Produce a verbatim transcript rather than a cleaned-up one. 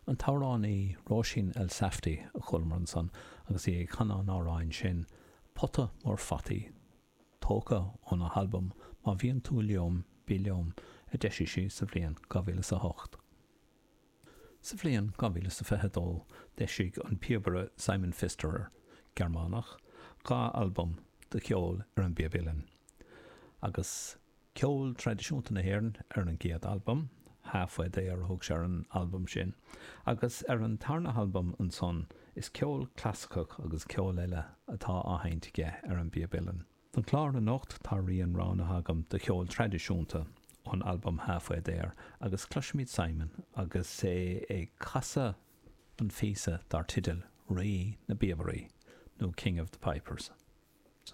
An t-amhránaí Róisín Elsafty a chualamar ansan agus í ag canadh an amhráin sin, Pota Mór Fataí, tógtha óna halbam Má Bhíonn Tú Liom, Bí Liom, a d'eisigh sí sa bhliain dhá mhíle is a hocht. Sa bhliain dhá mhíle is a fiche dó d'eisigh an píobaire Simon Pfisterer, Gearmánach, dhá albam de cheol ar an bpíob uilleann, agus ceol traidisiúnta na hÉireann ar an gcéad albam, Halfway There a thug sé ar an albam sin, agus ar an tarna halbam ansan is ceol clasaiceach agus ceol eile atá á sheinnt aige ar an bpíob uilleann. Don chlár anocht tá rian roghnaithe agam de cheol traidisiúnta ón albam Halfway There agus cloisfimid Simon agus é ag casadh an phíosa dar teideal Rí na bPíobairí nó King of the Pipers.